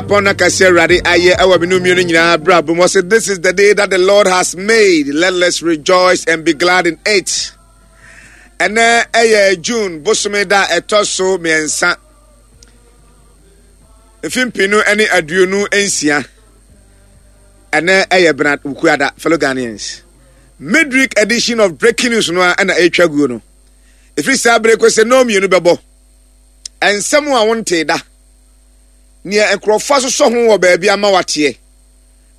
Pɔn na kɛse Awurade ayɛ ɛwɔ me no mmienu nyinaa abrabɔ mu. Ɔsɛ this is the day that the Lord has made. Let us rejoice and be glad in it. Ɛnɛ ɛyɛ June bosome da ɛtɔ so mmiɛnsa. Mfe mpinu ne 26. Ɛnɛ ɛyɛ Bernard Wukuada, fellow Ghanaians. Midweek edition of Breaking News no a ɛna ɛretwa guo no. Ɛfiri saa bere kɔ sɛ nnɔɔ mmienu bɛbɔ. Nsɛm a wontee da. Nea nkurɔfoɔ asosɔ ho wɔ baabi ama wateɛ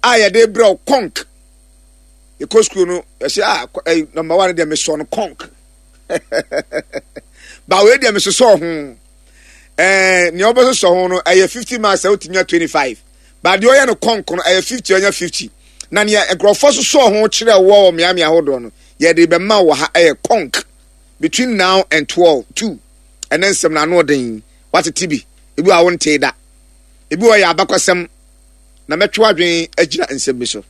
a yɛde brɛ wo kɔnk. Yɛkɔ sukuu no, yɛsɛ ah, eh, number one deɛ mesɔ no kɔnk. Ba wei deɛ mesosɔ ho. Eh, nea wobɛsosɔ ho no ɛyɛ 50 marks a wotumi nya 25. Ba deɛ ɔyɛ no kɔnk no ɛyɛ 50 ɔnya 50. Na nea nkurɔfoɔ sosɔ ho kyerɛ wɔ wɔ mmeammea ahodoɔ no, yɛde bɛma wɔ ha ɛyɛ kɔnk. Between now and 12, 2. Ɛne nsɛm no ano ɔden. Watete bi. Ebi wɔ a wontee da. Ebi wɔ yɛ abakɔsɛm na mɛtwe w'adwene agyina nsɛm bi so.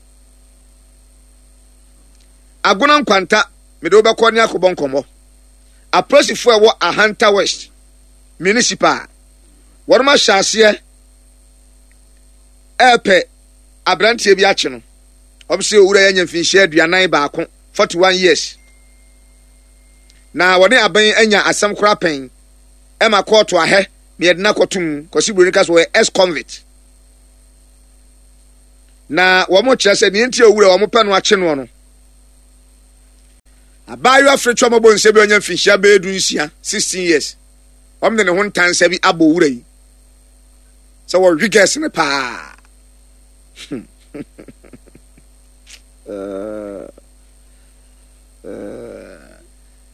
Agona Nkwanta, mede wo bɛkɔ ne akɔbɔ nkɔmmɔ. Apolisifoɔ a ɛwɔ Ahanta West Municipal, wɔnom ahyɛ aseɛ ɛrepɛ aberanteɛ bi akye no. Wɔn sɛ owura yɛ anya mfinhyia 41, 41 years. Na wɔne aban anya asɛm koraa pɛn. Ɛma kɔɔto ahɛ na yɛde no akɔto mu. Kwasi Buroni ka sɛ ɔyɛ ex-convict. Na wɔn kyerɛ sɛ nea nti a owura wɔn pɛ no akye noɔ no, abaayewa firitwa mɔbɔ nsa bi a ɔnya mfinhyia bɛyɛ 16, 16 years. Wɔn de ne ho ntansa bi abɔ owura yi sɛ wɔwe gɛs no paa.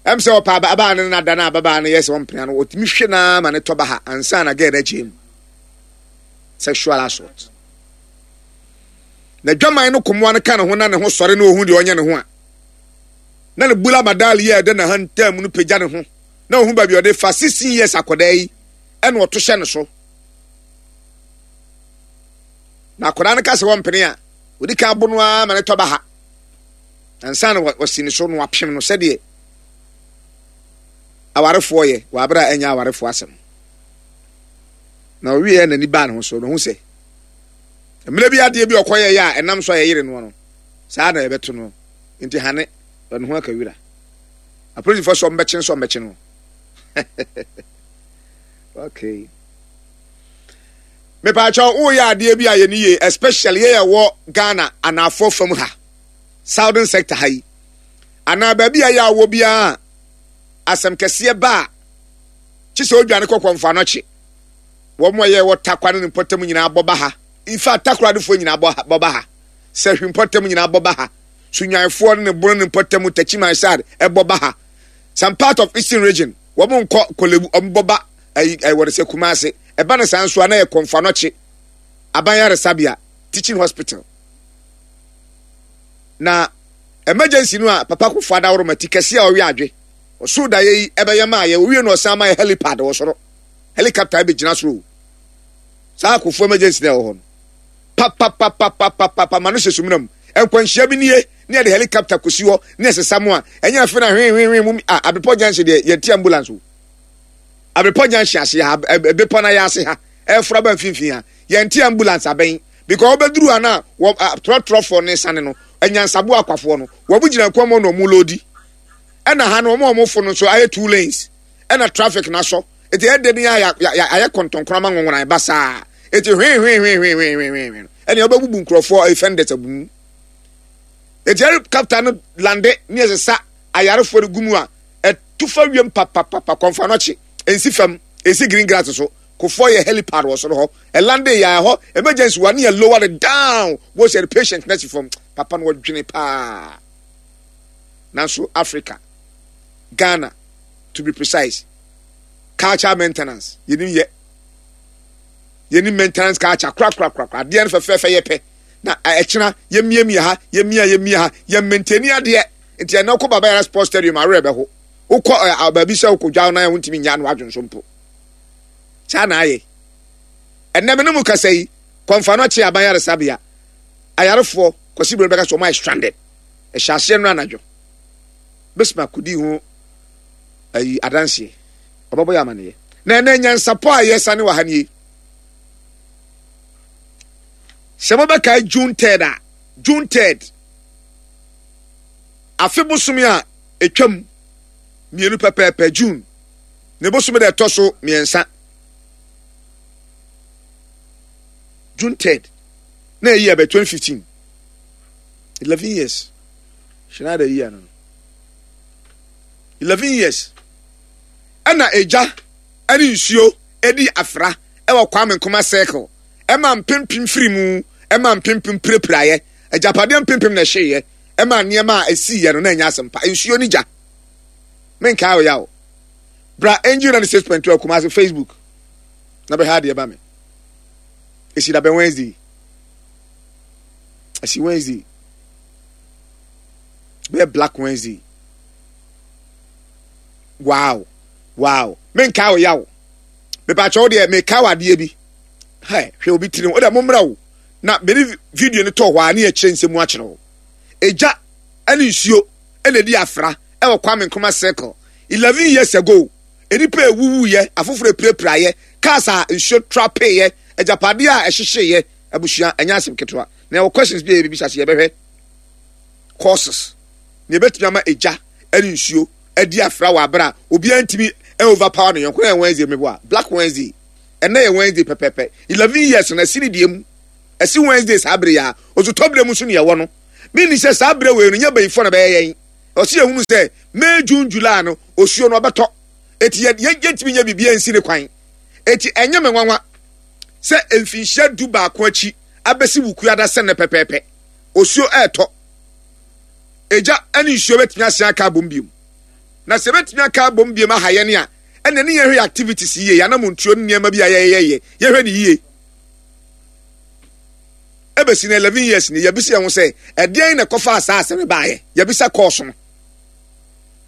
Ɛm sɛ ɔpɛ ababaa no na da no ababaa no yɛ sɛ ɔmpena no, ɔtumi hwe no ara ma ne tɔ ba ha ansa na gɛɛ no agye mu. Sexual assault. Na dwaman no komoa no ka ne ho na ne ho sɔre na ɔhu deɛ ɔnyɛ ne ho a, na ne bula madal yi a ɛda n'ahantan mu no pagya ne ho na ɔhu baabi ɔde fa 16 years akwadaa yi ɛna ɔto hyɛ ne so. Na akwadaa no ka sɛ wɔmpene a, ɔdi kan abo no ara ma ne tɔ ba ha. Ansa na wasi ne so na wapem no sɛdeɛ awarefoɔ yɛ wɔ abere a ɛnyɛ awarefoɔ asɛm. Na ɔwieɛ n'ani baa ne ho so na ɔhu sɛ mmerɛ bi adeɛ bi ɔkɔyɛ yɛ a ɛnam so a yɛyere noɔ no saa na yɛbɛto no nti hane ɔne ho aka wira. Apolisifoɔ sɛ ɔmbɛkye nso ɔmbɛkye no. Okay. Mepaakyɛw woyɛ adeɛ bi a yɛ ne yie especially yɛ yɛwɔ Ghana anaafoɔ fam ha. Southern sector ha yi anaa baabi a ɛyɛ awɔ biara asɛm kɛseɛ ba a kye sɛ odwane kɔ kɔmfa no kye wɔn a yɛwɔ takwa ne ne mpɔtam nyinaa bɔ ba ha in fact takoradefoɔ nyinaa bɔ ba ha sɛhwi mpɔtam nyinaa bɔ ba ha sunyanfoɔ ne ne bono ne mpɔtam takyiman sad ɛbɔ ba ha some part of eastern region wɔn nkɔ kolebu wɔn bɔ ba ɛyi ɛwɔ de sɛ kumase ɛba ne saa nso a na yɛ kɔmfa no kye aban yaresabea teaching hospital Na emergency no a papa kofo adaworoma ti kɛse a ɔwe adwe ɔsoro daeɛ yi ɛbɛyɛ maa yɛ owie no ɔsan ma yɛ helipad wɔ soro helicopter ɛbɛgyina soro o saa akofo emergency na ɛwɔ hɔ no papapapapapapa ma no hyɛ sumina mu nkwanhyia bi nie ne yɛde helicopter kɔsi hɔ ne ɛsesa mu a ɛnyɛ afe na hwehwehwe mu a abepɔ junction deɛ yɛnte ambulance o abepɔ junction ase ha bepɔ na yɛ ase ha ɛfora ba mfimfini ha yɛnte ambulance abɛn Because wobɛduru ha na wɔ trɔtrɔfoɔ ne sane no anyansabo akwafoɔ no wɔn gyina kwan mu na wɔn lodi ɛna ha no wɔn a wɔn fo no nso ayɛ two lanes ɛna traffic na asɔ eti ɛde ne ayɛ ayɛ kɔntɔnkɔn ama nwonwona ɛba saa eti hwee hwee hwee hwee hwee hwee hwee ɛna ɛbɛbubu nkurɔfoɔ ɛyɛ fenders abu mu eti helicopter no lande ne ɛsesa ayarefoɔ no gu mu a ɛtu fa wiem papapapa kɔnfa no akyi nsi fam esi green grass so. Kofoɔ yɛ helipad wɔ soro hɔ. Ɛlande yɛ ɛhɔ emergency wa ne yɛ lower it down. Wo sɛ patient na si fam. Papa no wɔdwene paa. Nanso Africa, Ghana to be precise, culture maintenance yɛnim yɛ. Yɛnim maintenance culture kora kora kora kora. Adeɛ no fɛfɛɛfɛ yɛ pɛ. Na ɛkyena yɛmiamia ha, yɛmia yɛmia ha, yɛ maintain adeɛ. Nti ɛnɛ wokɔ Baba Yara Sports Stadium awerɛ bɛho. Wokɔ baabi sɛ wokɔ dwa nan a wontumi nya no adwonso mpo. Saa na ayɛ. Ɛnnɛ me ne mo kasa yi, kɔmfa no akye aban yaresabea. Ayarefoɔ, Kwasi Broni bɛka sɛ wɔn ayɛ stranded. Ɛhyɛ aseɛ no anadwo. Bɛsima kɔdii ho ayi adanseɛ. Ɔbɛbɔ yɛ amaneɛ. Na ɛnɛ nyansapɔ a yɛsane wɔ ha nie. Sɛ mobɛkae June 3rd a, June 3rd, afe bosome a ɛtwam mmienu pɛpɛɛpɛ, June, ne bosome da ɛtɔ so mmiɛnsa, June 3rd, na ɛyi ɛbɛ 2015, 11 years, Schneider yi ano no, 11 years, ɛna egya ɛne nsuo ɛdi afra ɛwɔ Kwame Nkrumah Circle. Ɛmaa mpempem firii mu, ɛmaa mpempem pirapiraeɛ, agyapadeɛ mpempem na ɛhyeeɛ, ɛmaa nneɛma a ɛsiiɛ no na ɛnyɛ asɛmpa. Nsuo ne gya. Menkae wo yaw. Bra Angel 96.2 Kumasi Facebook na bɛhwɛ adeɛ ba me. Ɛsi da bɛn Wednesday. Ɛsi Wednesday. Bɛyɛ Black Wednesday. Wow. Wow. Menkae wo yaw. Mepakyɛ wo deɛ mekae wo adeɛ bi. Hɛ, hwɛ obi tiri ho. Wode mommra o. Na mede video no tɔɔ hɔ a ne yɛkyerɛ nsɛm mu akyerɛ wo. Egya ne nsuo na ɛdi afra wɔ Kwame Nkrumah Circle. 11 years ago, nnipa ɛwuwuiɛ, afoforɔ ɛpirapiraeɛ, cars a nsuo trapeeɛ, agyapadeɛ a ɛhyehyeeɛ, abusua, ɛnyɛ asɛm ketewa. Na yɛwɔ questions bi a yɛbɛbisa so yɛbɛhwɛ causes na ɛbɛtumi ama egya ne nsuo adi afra wɔ abere a obiara ntumi overpower no yɔnko. Na yɛ Wednesday meboa, Black Wednesday. Ɛnɛ yɛ Wednesday pɛpɛpɛ. 11 years na ɛsi ne deɛ mu. Ɛsi Wednesday saa bere yi a, osutɔbere mu nso ne ɛwɔ no. Menni sɛ saa bere wei no nyɛ bayifoɔ na bɛyɛ yɛn. Ɔsi yɛhunu sɛ May, June, July no osuo no ɔbɛtɔ. Eti yɛ yɛntumi nyɛ biribi ansi ne kwan. Eti ɛnyɛ me nwanwa sɛ mfinhyia 11 akyi abɛsi Wukuada sɛ nnɛ pɛpɛɛpɛ. Osuo ɛretɔ. Egya ne nsuo bɛtumi asan aka abom biom. Na sɛ ɛbɛtumi aka abom biom aha yɛn a, ɛna ne yɛhwɛ yɛ activities yie, yɛn anamontuo ne nneɛma bi a yɛyɛyɛ, yɛhwɛ ne yie. Ɛbɛsi no 11 years ni, yɛbisa yɛn ho sɛ, ɛdeɛn na ɛkɔfaa saa asɛm no baeɛ? Yɛbisa course no.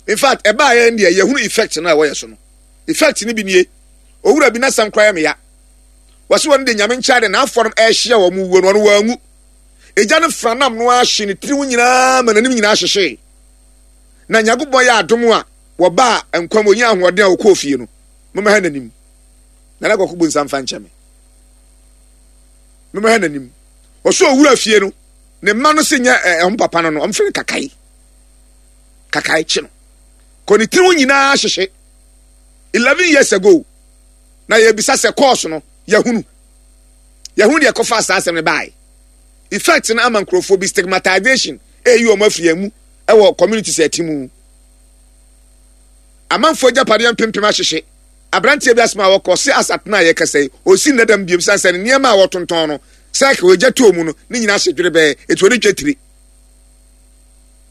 In fact, ɛbaeɛ no deɛ, yɛhunu effect no a ɛwɔ yɛ so no. Effect no bi nie, owura bi n'asɛm koraa yɛ me ya. Wɔse wɔn de nyame nkyɛn de n'afɔ no ɛrehyia wɔn wuo no, ɔno wɔanwu. Egya no franam no ara hye ne tiri ho nyinaa ma n'anim nyinaa hyehyee. Na Nyankopɔn yɛ adom a wɔbaa nkwa mu, onyaa ahoɔden a ɔkɔɔ fie no, mommɛhwɛ n'anim. Nana Kwaku bu nsa mfa nkyɛ me. Mommɛhwɛ n'anim. Ɔsɛ owura fie no, ne mma no se nyɛ ɛho papa no no, ɔmfrɛ no kakae. Kakae kye no. Kɔ ne tiri ho nyinaa hyehye. 11 years ago, na yɛbisa sɛ kɔɔso no, yɛhunu. Yɛhunu deɛ ɛkɔfaa saa asɛm no bae. Effect no ama nkurɔfoɔ bi stigmatization ɛyi wɔn afiri yɛn mu ɛwɔ communities ɛte mu. Amanfoɔ agyapadeɛ mpempem ahyehye. Aberanteɛ bi asɛm a wɔkɔ se asatena a yɛkasa yi, ɔsi nnɛ dam biom sane sɛ ne nneɛma a wɔtontɔn no, cycle egya tɔɔ mu no, ne nyinaa hye dwerebɛɛ, eti ɔde twa tiri.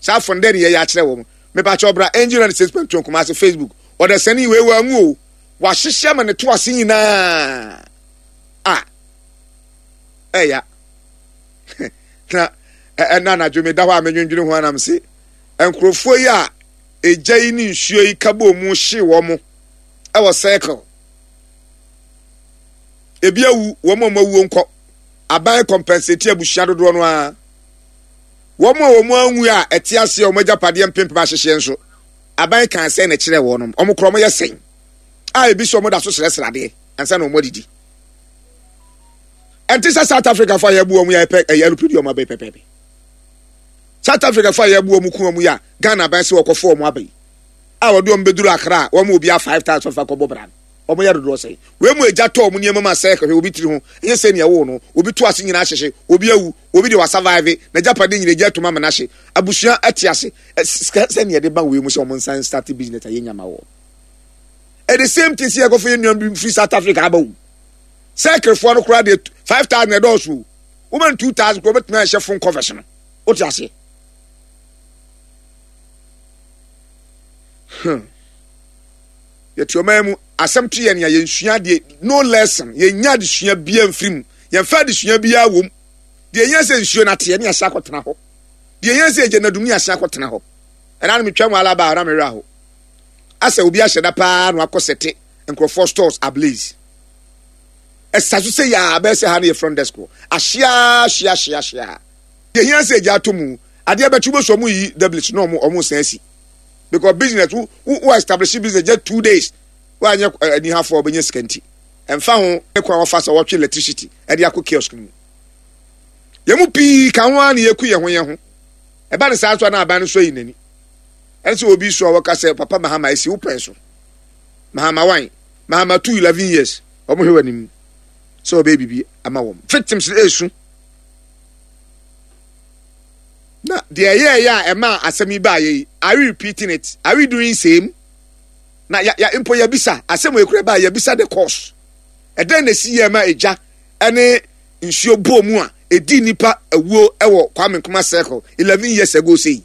Saa afɔ no dɛn ne yɛyɛ akyerɛ wɔn? Mepakyɛw bra Angel 96.2 Kumasi Facebook. Ɔdasani wei wanwu o. Wahyehyɛ ama ne to ase nyinaa. A ɛya. Na ɛna anadwo meda hɔ a medwendwene ho anam se nkurɔfoɔ yi a egya yi ne nsuo yi ka bɔɔ mu hyee wɔn wɔ circle. Ebi awu, wɔn a wɔn awuo nkɔ. Aban compensate abusua dodoɔ no ara. Wɔn a wɔn anwu a ɛte aseɛ wɔn agyapadeɛ mpempem ahyehyeɛ nso, aban kan sɛn na ɛkyerɛ wɔn. Wɔn korɔ wɔn yɛ sɛn a ebi sɛ wɔn da so srɛsrɛ adeɛ ansa na wɔn adidi. Ɛnte sɛ South Africa fo a yɛbu wɔn yɛ pɛ ɛyɛ alupɛ di wɔn abɛn pɛpɛɛpɛ. South Africa fo a yɛbu wɔn ku wɔn yi a Ghana aban sɛ wɔkɔfo wɔn aba yi a wɔde wɔn bɛduru Accra a wɔn obi a 5,000 fa kɔbɔ bra no wɔn yɛ dodoɔ sɛn? Wei mu agya tɔ wɔn nneɛma mu asɛe kɔhwɛ obi tiri ho ɛnyɛ sɛ nea ɛwoo no obi to ase nyinaa ahyehye obi awu obi deɛ wasurvive n'agyapade nyinaa agya atum ama no ahye abusua ɛte ase sika sɛ nea ɛde ba wei mu sɛ wɔn nsan start business a yɛnya ma wɔ ɛde same thing sɛ yɛkɔfo yɛ nua bi firi South Africa aba wo sɛkerefoɔ no koraa deɛ 5,000 ɛdɔɔso o woman 2,000 koraa wobɛtumi ahyɛ phone covers no wote aseɛ hmm. Yɛte ɔman mu asɛm to yɛn a yɛnsua adeɛ, no lesson, yɛnya adesua biara mfiri mu, yɛmfa adesua biara wɔ mu. Deɛ yɛn sɛ nsuo no ateɛ ne yɛahyɛ akɔtena hɔ, deɛ yɛn sɛ ɛgya nadum ne yɛahyɛ akɔtena hɔ. Ɛna no metwa mu alaba a na mewerɛ aho asɛ obi ahyɛ da paa na wakɔ sɛte nkurɔfoɔ stores ablaze ɛsa so sɛ yɛ a bɛyɛ sɛ ha no yɛ front desk hɔ ahyia ahyia ahyia ahyia. Deɛ hia sɛ gya ato mu adeɛ bɛkye wobɛsu ɔmo yi doubles na ɔmo ɔmo san asi because business wo wo establish business just 2 days woanyɛ anihafoɔ ɔbɛnya sika nti ɛmfa ho ne kwan wɔfa sɛ wɔtwe electricity ɛde akɔ kiosk no mu. Yɛn mu pii ka ho ara na yɛku yɛn ho yɛn ho. Ɛba ne saa nso a na aban no so ayi n'ani. Ɛne sɛ obi so a wɔka sɛ papa Mahama esi wo pɛn so. Mahama wan? Mahama 2 11 years. Wɔn hwɛ wɔ anim sɛ ɔbɛyɛ biribi ama wɔn. Victims no esu. Na deɛ ɛyɛɛyɛ a ɛmaa asɛm yi baayɛ yi, are we repeating it? Are we doing same? Na ya ya mpo yɛbisa asɛm wɔ ekura baa yɛbisa the cause. Ɛdɛn na esi yɛ ma egya ɛne nsuo bɔɔ mu a ɛdii nnipa awuo wɔ Kwame Nkrumah Circle 11 years ago sei.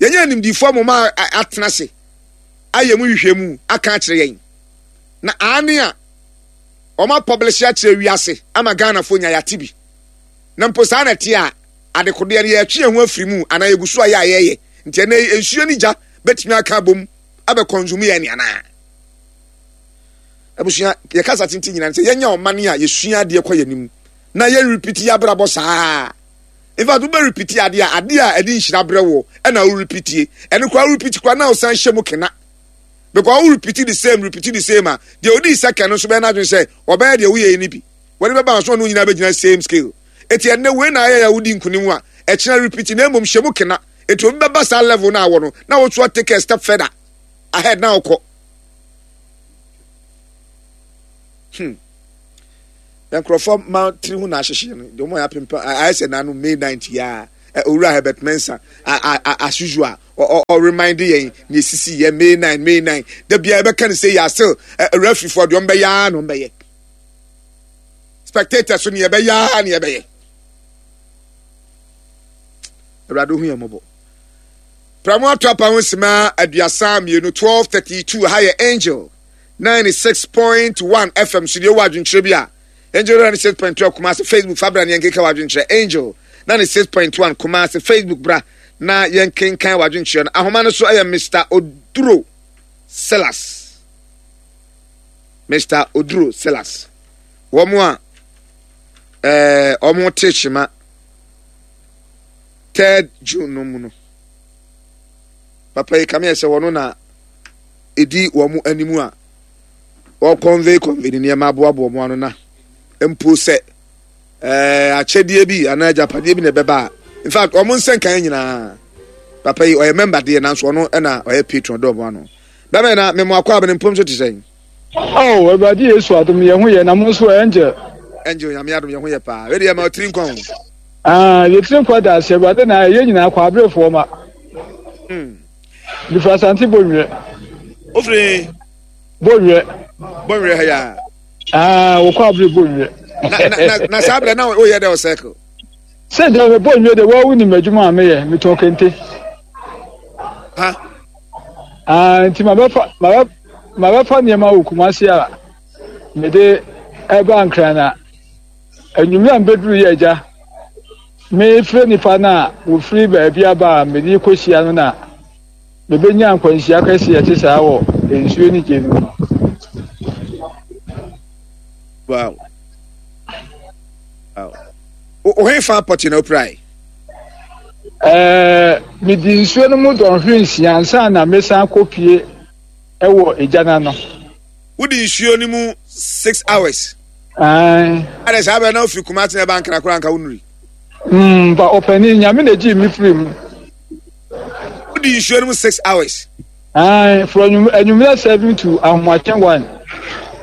Yɛnyɛ animdifoɔ moma atena ase ayɛ mu hwehwɛ mu aka akyerɛ yɛn. Na aane a wɔn apɔblehye akyerɛ wiase ama Ghanafoɔ nya yɛate bi. Na mpo saa na ɛte a adekodeɛ no yɛtwe yɛn ho afiri mu anaa yɛgu so ayɛ a yɛyɛ. Nti ɛnɛ nsuo ne gya bɛtumi aka abom abɛkɔnsumu yɛn anaa? Abusua, yɛ kasa tenten nyinaa sɛ yɛnyɛ ɔman a yɛsua adeɛ kɔ yɛn anim na yɛn repeat yɛ abrabɔ saa. In fact, wobɛ repeat adeɛ a adeɛ a ɛde nhyira brɛ wɔ ɛna wo repeat yɛ. Ɛno koraa wo repeat koraa na wosan hyɛ mu kena. Because wo repeat the same, repeat the same a, deɛ odi second no nso bɛyɛ n'adwene sɛ ɔbɛyɛ deɛ woyɛ yi no bi. Wɔde bɛba nso ɔno nyinaa bɛgyina same scale. Eti ɛnnɛ wei na ayɛ yɛ wodi nkunim a, ɛkyena repeat na mmom hyɛ mu kena. Eti obi bɛba saa level no a wɔ no na wosoa take a step further ahead na wokɔ. Hmm. Na nkurɔfoɔ ma tiri ho na ahyehye no deɛ wɔn ayɛ apempa ayɛ sɛ n'ano May 9th yi a owura Herbert Mensah as usual ɔ remind yɛn na esisi yɛ May 9 May 9 da biara ɛbɛka ne sɛ yɛ asel referee foɔ deɛ wɔn bɛyɛ ara na wɔn bɛyɛ spectators so ne yɛbɛyɛ ara na yɛbɛyɛ awurade hu yɛn mmɔbɔ. Pramo ato apa ho sima 32, 12:32 ha yɛ Angel 96.1 FM so deɛ wɔ adwenkyerɛ bi a Angel 96.2 Kumasi Facebook fa bra ne yɛnkenkan w'adwenkyerɛ Angel 96.1 Kumasi Facebook bra na yɛnkenkan w'adwenkyerɛ no ahoma no so ɛyɛ Mr. Oduro Silas Mr. Oduro Silas wɔn a ɛɛ wɔn te kyema third June no mu no papa yi kame yɛ sɛ wɔn na edi wɔn anim a wɔkɔnvey kɔnvey ne nneɛma aboaboa wɔn ano na mpo sɛ ɛɛ akyɛdeɛ bi anaa agyapadeɛ bi na ɛbɛba a in fact wɔn nsɛnkan nyinaa papa yi ɔyɛ mɛmba deɛ nanso ɔno ɛna ɔyɛ patron dɔɔ wɔn ano bɛmɛ na mɛmo akɔ abɛn mpom so te sɛn. Oh, Awurade Yesu adom yɛn ho yɛ na mo nso angel. Angel nyame adom yɛn ho yɛ paa. Wei deɛ ma ɔtiri nkwa o. Ah, yɛtiri nkwa da ase Awurade na yɛn nyinaa kɔ aberefoɔ ma. Hmm. Mefiri Asante Bonwerɛ. Wofiri? Bonwerɛ. Bonwerɛ ha ya. Ah, wokɔ abere Bonwerɛ. Na na na, na saa abere na woyɛ dɛ wɔ circle. Sɛ deɛ me Bonwerɛ deɛ wɔn wonim adwuma a meyɛ metɔn kente. Ha. Ah, nti mabɛfa mabɛ mabɛfa nneɛma wɔ Kumasi a mede ɛba Nkran na anwummerɛ a mbɛduru yɛ agya mefrɛ nnipa no a wɔfiri baabi aba a mede kɔhyia no na mebɛnya nkwanhyia kɛseɛ ɛte saa wɔ nsuo ne gye no mu. Wow. Wow. Ohe fa pɔte na opirae? Ɛɛ, medi nsuo no mu dɔnhwere nsia ansa na mesan kɔpie ɛwɔ egya no ano. Wodi nsuo no mu six hours. Ae. Adɛ saa bɛrɛ na ofiri Kumasi na ɛba Ankara koraa anka wonuri. Mm, ba ɔpanin, Nyame na egyee me firi mu. Wodi nsuo no mu six hours. Ae, from anwummerɛ seven to ahomakye one.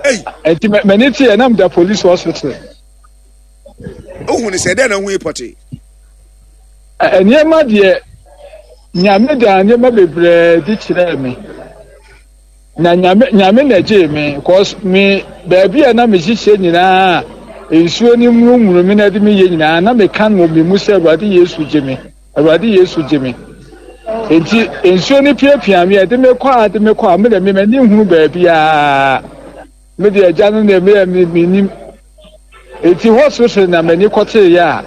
Ei. Nti m'ani teɛ na meda police hospital. Wohu ne sɛ dɛn na wohu yi pɔtee? Nneɛma deɛ Nyame daa nneɛma bebree di kyerɛɛ me. Na Nyame Nyame na gyee me cause me baabi a na mehyehyɛ nyinaa nsuo no mmurumuru me na ɛde me yɛ nyinaa na meka no wɔ me mu sɛ Awurade Yesu gye me Awurade Yesu gye me nti nsuo no piapia me ɛde me kɔ a ɛde me kɔ a me de me m'ani nhunu baabiara me de agya no na me me menim Enti hɔ sorosoro na m'ani kɔteeɛ a,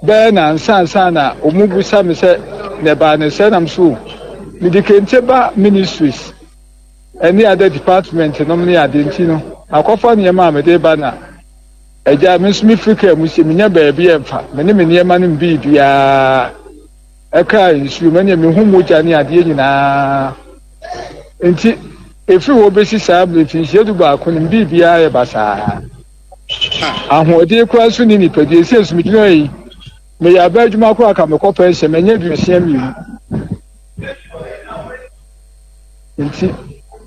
bɛyɛ nnansa ansa na wɔrebisa me sɛ na ɛbaa ne sɛ nam so mede kente ba ministries ne other department nom ne ade nti no makɔfa nneɛma a mede ba na agya me nso mefiri kaa mu sɛ menya baabi ɛmfa me ne me nneɛma no biribiara ɛkaa nsuo mu ɛneɛ mehu mogya ne adeɛ nyinaa nti Ɛfiri hɔ bɛsi saa berɛ mfinhyia dubaako no, biribiara yɛ basaa. Ahoɔden koraa nso nni nipadua. Ɛsei nso megyina hɔ yi, meyɛ abaa adwuma koraa ka mekɔ pɛnhyɛ, manya 62. Nti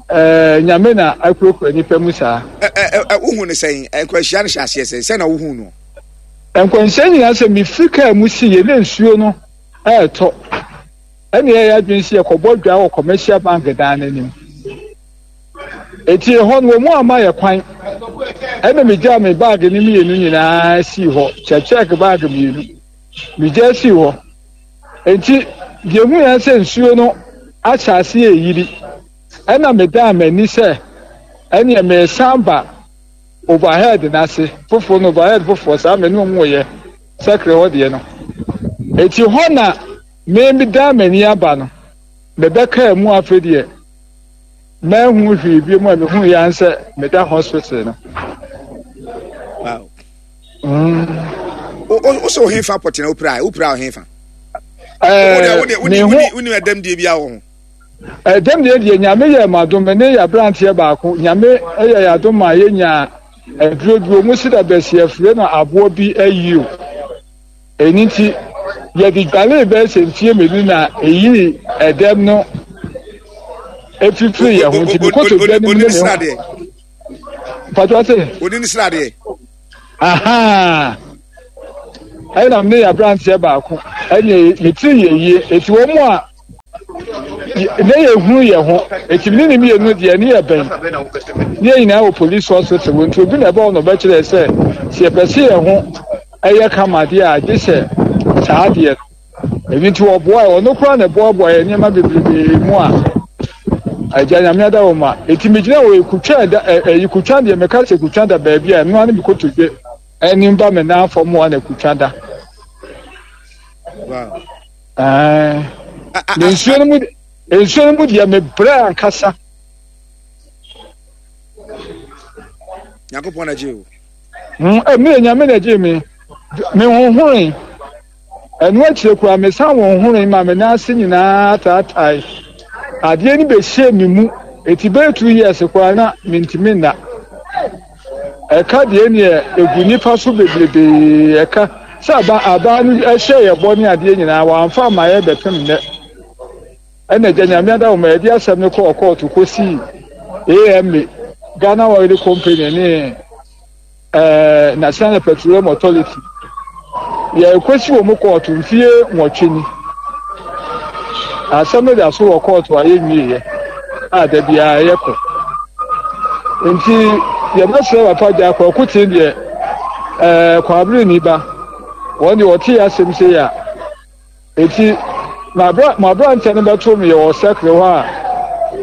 ɛɛ Nyame na akurakura nipa mu saa. Ɛ ɛ ɛ wohu no sɛn? Nkwanhyia no hyɛ aseɛ sɛn? Sɛn na wohu no? Nkwanhyia nyinaa sɛ mefiri kaa mu si yɛ na nsuo no ɛɛtɔ. Ɛna yɛyɛ adwene sɛ yɛkɔbɔ dwa wɔ commercial bank dan no anim. Eti ɛhɔ no wɔn amma yɛ kwan. Ɛna megyaa me baage no mmienu nyinaa sii hɔ, kyɛkyɛk baage mmienu. Megyaa sii hɔ. Enti deɛ ehu yɛn sɛ nsuo no ahyɛ aseɛ reyiri. Ɛna medaa m'ani sɛ ɛneɛ meresan ba overhead no ase foforɔ no overhead foforɔ saa me ne wɔn yɛ sɛkere hɔ deɛ no. Eti hɔ na me medaa m'ani aba no mebɛkaa mu afei deɛ manhu hwee bio mu a mehu yɛ sɛ meda hospital no. Wow. Mm. O sɛ ɔhefa pɔtena wopira wopira ɔhefa. Wone ɛdɛm deɛ bi awɔ ho. Ɛdɛm deɛ deɛ nyame yɛ ma dom ne yɛ aberanteɛ baako nyame yɛ yɛ adom ma yɛnya aduro bi ɔmu si da bɛsi afire no aboɔ bi ayio. Ɛno nti yɛde dwalee bɛyɛ sɛ mfie mmienu na ɛyii ɛdɛm no ɛfifiri yɛ ho nti mekɔtɔ dwa no mu ne me ho. Mpatwa se. Oni ne sradeɛ. Ahaa. Ɛna me ne aberanteɛ baako ɛne me tiri yɛ yie eti wɔn a ne yɛ hunu yɛ ho eti me ne ne mmienu deɛ ne yɛ bɛn ne yɛ nyinaa wɔ police hospital wɔ nti obi na ɛbɛ hɔ na ɔbɛkyerɛ sɛ sɛ yɛpɛ se yɛ ho ɛyɛ kama deɛ a gye sɛ saa deɛ no. Ɛno nti wɔboae, ɔno koraa na ɛboaboa yɛn nneɛma bebrebe mu a agya nyame ada wɔ ma. Eti megyina wɔ ekutwa da ɛyi kutwa deɛ meka sɛ kutwa da baabi a ɛno ara ne me kotodwe anim ba me nan fam a na kutwa da. Wow. Ɛɛ na nsuo no mu nsuo no mu deɛ mebrɛ ankasa. Nyankopɔn na gye o. Mm, eh, nyame na gye me. Me honhore. Ɛno akyire koraa, mesan honhonee maa me nan ase nyinaa taatae. Adeɛ no bɛhyɛɛ me mu, enti bɛyɛ 2 years koraa na mentumi nna. Ɛka deɛ neɛ ɛgu nnipa so bebrebee, ɛka sɛ aba abaa no ɛhyɛ yɛ bɔ ne adeɛ nyinaa wɔamfa amma yɛ bɛpem nnɛ. Ɛna agya Nyame adawoma yɛde asɛm no kɔɔ kɔɔto kɔsii AMA, Ghana Oil Company ne Ɛɛ National Petroleum Authority. Yɛrekɔsi wɔn kɔɔto mfie nwɔtwe ni. Asɛm no da so wɔ kɔɔto a yɛnwieɛ a da biara yɛkɔ. Nti yɛbɛsrɛ papa gya Kwaku Ten deɛ ɛɛ Kwabere ni ba. Wɔn deɛ wɔte yɛ asɛm sei a Enti, mo aberanteɛ no bɛtoo me wɔ sɛkere hɔ a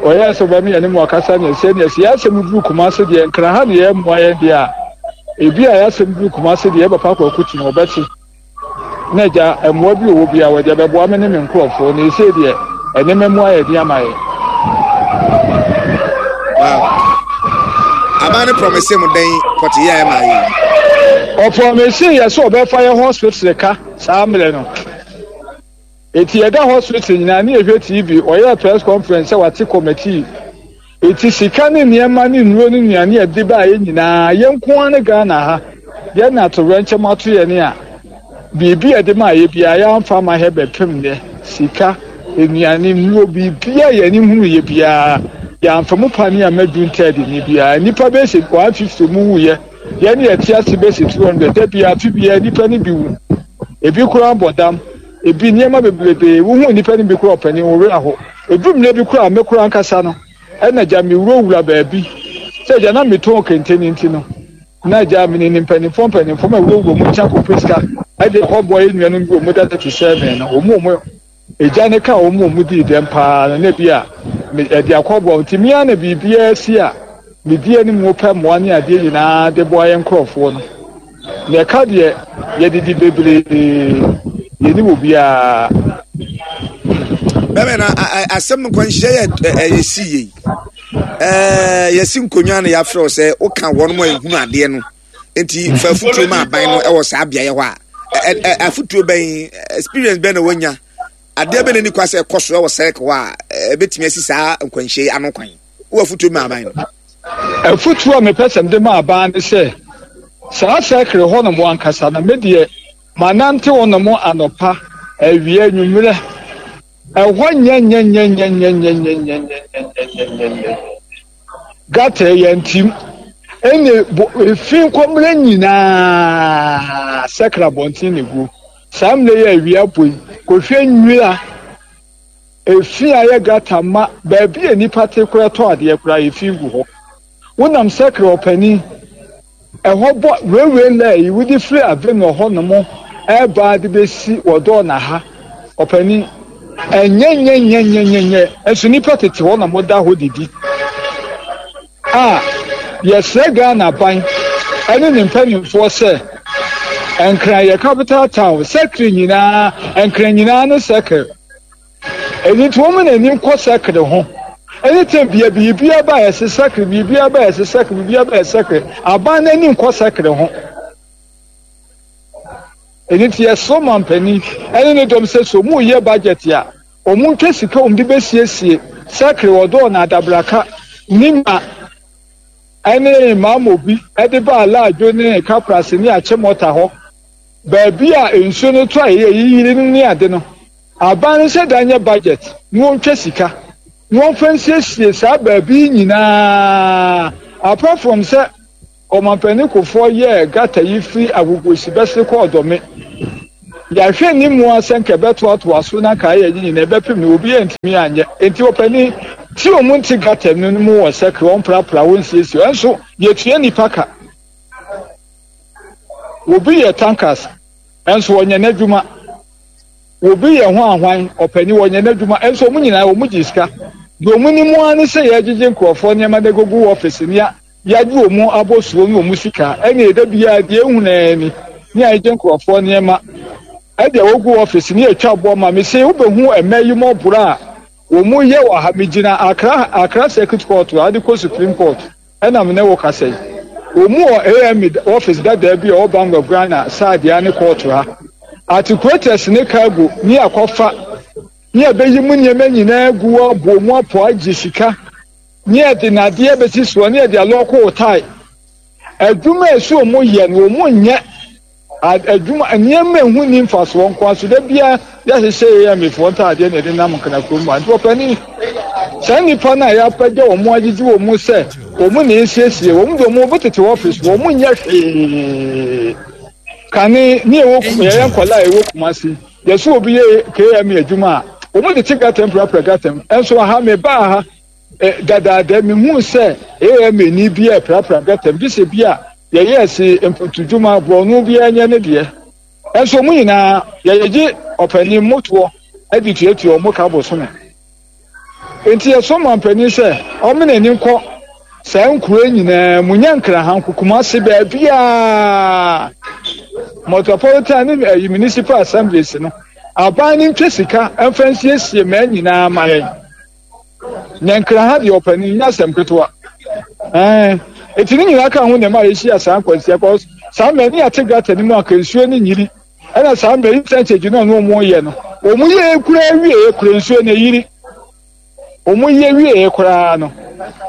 ɔyɛɛ sɛ ɔbɛme yɛne mo akasa ne ɛsɛ ne ɛsɛ. Yɛn asɛm duru Kumase deɛ, Nkran ha ne yɛn mmoa yɛn deɛ a, ebi a yɛn asɛm duru Kumase deɛ, yɛn papa Kwaku te no ɔbɛte. Na agya, mmoa bi wɔ hɔ bi a wɔde abɛboa me ne me nkurɔfoɔ, na ɛsei deɛ, nneɛma mu ayɛ den ama yɛn. Wow. Aban no promise mo dɛn pɔteyɛ a ɛma yɛ yi? Ɔpromise yɛ sɛ ɔbɛfa yɛ hospital ka. Saa mmerɛ no, enti yɛda hospital nyinaa ne yɛhwɛ TV, ɔyɛɛ press conference sɛ wate committee, enti sika ne nneɛma ne nnuro ne nnuane a ɛde baeɛ nyinaa yɛn nko ara ne Ghana ha yɛn na atowerɛnkyɛm ato yɛn a biribi a ɛde maa yɛ biara yɛamfa ama hɛ bɛpem nnɛ, sika, nnuane, nnuro, biribiara yɛn ani hunu yɛ biara yɛamfa mu pane amma Duntɛɛde ni biara, nnipa bɛyɛ sɛ 150 mu wuiɛ. Yɛn yɛte ase bɛsi 200 da biara, afe biara nnipa no bi wu. Ebi koraa bɔ dam, ebi nneɛma bebrebe. Wohu nnipa no bi koraa ɔpanin, wo werɛ aho. Edu mmerɛ bi koraa me koraa ankasa no, ɛna gya mewurawura baabi. Sɛ agya na metɔn kente no nti no, na agya menim mpanimfoɔ mpanimfoɔ ma wurawura wɔn nkyɛn akɔpɛ sika de akɔboa yɛn nuanom bi wɔn da 37 no, wɔn wɔn Egya no kaa wɔn a wɔdii dɛm paa no, na ebia me ɛde akɔboa wɔn. Nti me ara na biribiara si a, medi anim pɛ mmoa ne adeɛ nyinaa de boa yɛn nkorɔfoɔ no. Na ɛka deɛ, yɛdidi bebree, yɛnnim obiara. Bɛmɛ na asɛm nkwanhyia yɛ ɛyɛ si yie. Ɛɛ yɛsi nkonnwa na yɛafrɛ wo sɛ woka wɔn a ehunu adeɛ no. Nti fa afutuo ma aban no wɔ saa beaeɛ hɔ a afutuo bɛn experience bɛn na wanya adeɛ bɛn na ni kwa sɛ ɛkɔ so wɔ sɛk hɔ a ɛbɛtumi asi saa nkwanhyia yi ano kwan wɔ afutuo ma aban no. Afutuo a mepɛ sɛ mede ma aban ne sɛ. Saa sɛkere hɔnom ankasa no, me deɛ manante hɔnom anɔpa, awia, anwummerɛ. Ɛhɔ nyɛnyɛnyɛnyɛnyɛnyɛnyɛnyɛnyɛnyɛnyɛnyɛ. Gata yɛ ntim. Ɛne bo efi nkɔmmerɛ nyinaa sɛkere abɔnten na egu. Saa mmerɛ yi a awia bɔ yi, kɔhwɛ nwira efi a ɛyɛ gata ma baabi a nnipa te koraa tɔ adeɛ koraa efi gu hɔ. Wonam sɛkere ɔpanin Ɛhɔ bɔ railway line yi wode firi Avenor hɔ nom ɛreba de bɛsi wɔdɔɔ na ha ɔpanin ɛnyɛ nyɛ nyɛ nyɛ nyɛ nyɛ nso nipa tete hɔ na mo da hɔ didi a yɛsrɛ Ghana ban ɛne ne mpanimfoɔ sɛ Nkran yɛ capital town sɛkere nyinaa Nkran nyinaa ne sɛkere. Ɛno nti wɔn na ani nkɔ sakre ho. Ɛne tɛm bia biribiara ba a ɛsɛ sakre, biribiara ba a ɛsɛ sakre, biribiara ba a ɛsɛ sakre. Aban no ani nkɔ sakre ho. Ɛno nti yɛsrɛ mampanin ɛne ne dɔm sɛ sɛ wɔn reyɛ budget a, wɔn ntwa sika wɔn de bɛsiesie sakre, ɔdɔɔ na adabraka, nima ɛne maamobi ɛde ba alaadwo ne kaprase ne akyemɔta hɔ. Baabi a nsuo no tɔ a ɛyɛ yiyiri no ne ade no. Aban no nhyɛ da nyɛ budget na wɔntwa sika na wɔmfa nsiesie saa baabi yi nyinaa apart from sɛ Ɔmanpanin Kufuor yɛɛ gutter yi firi Agogosi bɛsere kɔ Ɔdɔme. Yɛahwɛ anim ara sɛ nka ɛbɛtoatoa so na nka ayɛ yi nyinaa ɛbɛpem no obiara ntumi anyɛ. Enti ɔpanin, ti wɔn nte gutter no mu wɔ sɛkere wɔmprapra wɔnsiesie ɛnso yɛtua nnipa ka. Obi yɛ tankers ɛnso ɔnyɛ n'adwuma. Obi yɛ ho ahwan, ɔpanin, ɔnyɛ n'adwuma, nso wɔn nyinaa wɔn gye sika. Deɛ wɔn nim ara ne sɛ yɛregyegye nkurɔfoɔ nneɛma de agugu ɔfese nea yɛagye wɔn abɔsoɔ ne wɔn sika. Ɛnneɛ da biara deɛ ehunu ara ni, ne yɛagye nkurɔfoɔ nneɛma de agugu ɔfese ne yɛatwa boɔ ma me. Sei wobɛhu mmaa yi mmɔborɔ a wɔn yɛ wɔ ha. Megyina Accra, Accra Circuit Court a de kɔ Supreme Court. Ɛna me ne wo kasa yi. Wɔn wɔ AME office dadaa bi a ɛwɔ Bank of Ghana Sadea ne kɔɔto ha. Articulators ne cargo ne akɔfa ne ɛbɛyi mu nneɛma nyinaa agu hɔ abɔ mu apɔ agye sika ne ɛde nadeɛ bɛsi soɔ ne ɛde alɔɔko wo tae. Adwuma a ɛsɛ wɔn yɛ no wɔn nyɛ. Adwuma, nneɛma a ɛho nni mfasoɔ nko ara so da biara yɛhyehyɛ yɛn amefoɔ ntaadeɛ na yɛde nam nkena kurom ha. Nti ɔpanin, saa nnipa no a yɛapagya wɔn agyegye wɔn mu sɛ wɔn na ɛsiesie wɔn de wɔn bɛtete ɔfis wɔn nyɛ hwee. Kane ne ɛwɔ yɛyɛ nkɔla a ɛwɔ Kumasi yɛsɛ obi yɛ KMA adwuma a wɔn de te gatam prapra gatam nso aha mebaa ha Dadaada mihuu sɛ AMA ni bi reprapra gutter mu, gye sɛ bi a yɛyɛɛ se mpuntudwuma, borɔno biara nyɛ ne deɛ. Nso wɔn nyinaa, yɛgyegye ɔpanin mmotoɔ de tuatua wɔn ka bosome. Enti yɛsrɛ ɔmampanin sɛ ɔmma n'ani nkɔ saa nkuro yi nyinaa mu, nyɛ Nkrahanko, Kumasi, baabiara, Metropolitan ne ayi municipal assemblies no, aban no ntwa sika mfa nsiesie mmaa nyinaa ma yɛn. Na nkra ha deɛ ɔpanin nyɛ asɛm ketewa. Ɛɛ eti ne nyinaa ka ho na ɛma yɛhyia saa nkwanhyia kɔ saa mmerɛ ne yɛate gata no mu anka nsuo no nyiri ɛna saa mmerɛ yi sɛnkyɛ gyina no wɔn yɛ no wɔn yɛ kura wie kura nsuo no yiri wɔn yɛ wie koraa no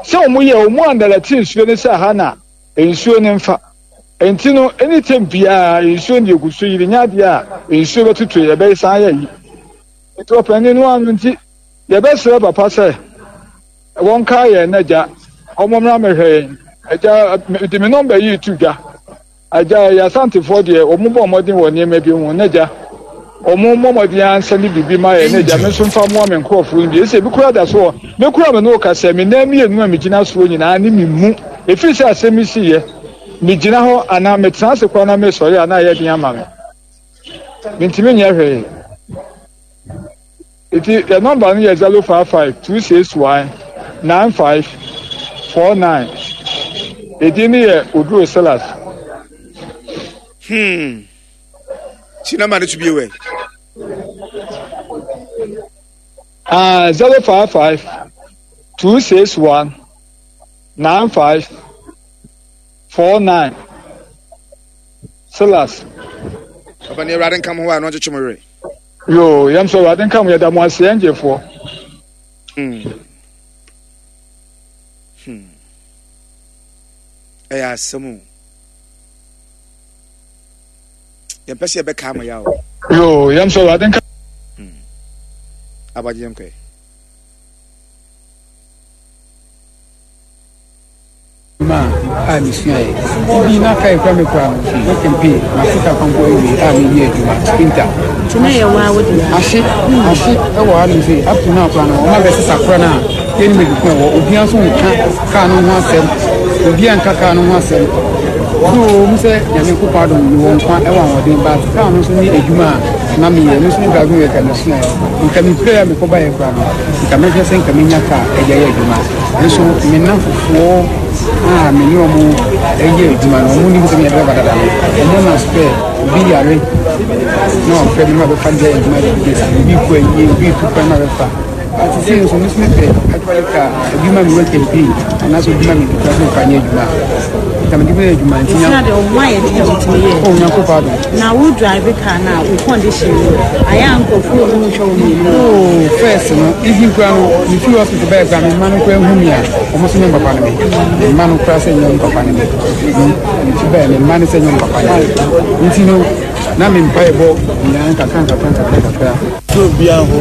sɛ wɔn yɛ wɔn andalɛte nsuo no sɛ ha na nsuo no mfa nti no anytime biara nsuo no yɛ gu so yiri nyɛ adeɛ a nsuo bɛtutu yɛ bɛyɛ san yɛ yi nti ɔpanin no ano nti. Yɛbɛsrɛ papa sɛ wɔnkae yɛn na agya wɔmmra mmɛhwɛ yɛn. Agya, mede me nɔmba yi reto dwa. Agya, yɛ Asantefoɔ deɛ wɔn bɔ mmɔden wɔ nneɛma bi ho na agya wɔn mmɔ mmɔden ara nsa ne biribi ma yɛn na agya me nso mfa mmoa me nkurɔfoɔ no bi. Ɛsɛ ebi koraa da so wɔ me koraa me ne wo kasa me nan mmienu a megyina soɔ nyinaa ne me mu. Ɛfiri sɛ asɛm yi siiɛ megyina hɔ anaa metena ase koraa na mesɔre a na ayɛ den ama me. Mentumi nyɛ hwee. Nti yɛ nɔmba no yɛ 055 261 9549. Edin no yɛ Oduro Silas. Hmm. Si nɔmba no so bio ɛ. Ah, 055 261 9549. Silas. Papa ne Awurade nka mo ho a na ɔnkyekye mo werɛ. Yoo, yɛn nso Awurade nka mo, yɛda mo ase yɛn gyefoɔ. Hmm. Hmm. Ɛyɛ asɛm o. Yɛmpɛ sɛ yɛbɛka ama yɛ o. Yoo, yɛm sɛ Awurade nka. Abagye yɛnkɔ ɛ. Adwuma a mesuaeɛ. Ebi na kaa ekura me kura no, work and pay, mate ka kwanko awie a meyɛ adwuma, sprinter. Nti na ɛyɛ waa wo dea? Ahye, ahye ɛwɔ ha nom sei, up to now koraa no, wɔn abɛsesa kora no a, yɛnim baabi ko ɛwɔ, obiara nso nka kaa no ho asɛm, obiara nka kaa no ho asɛm. So mu sɛ Nyame nkopɔn adom mewɔ nkwa ɛwɔ ahoɔden, but kaa no nso ne adwuma a na meyɛ, ɛno nso ne driving work a mesuaeɛ. Nka mepirae a mekɔbaeɛ koraa no, nka mɛhwɛ sɛ nka menya kaa ɛde ayɛ adwuma. Nanso me nnamfofoɔ a me ne wɔn yɛ adwuma no, wɔn nim sɛ meyɛ driver dada no, wɔn na spare obi yare na wɔfrɛ me na wɔbɛfa de ayɛ adwuma de bi obi kɔ ayie, obi tu kwan na wɔbɛfa. Ati sei nso, me nso mepɛ actually ka obi ma me work and pay anaasɛ obi ma me bi kora sɛ mfa nyɛ adwuma. Nka mede bɛyɛ adwuma nti nya. Sɛ de wo ayɛ den a wotumi yɛ. Oh, Nyankopɔn adom. Na wo drive car na wo condition no ayɛ a nkurɔfoɔ hu hwɛ wo mmienu. Oh, first no, even kura no, me fi hospital bɛyɛ kura me mma no kura hu me a, wɔn so nyɛ papa no me. Me mma no kura sɛ nyɛ papa no me. Me fi bɛyɛ me mma no sɛ nyɛ papa no me. Nti no, na me mpa ɛbɔ nyinaa nkakra nkakra nkakra nkakra. Fi obiara hɔ.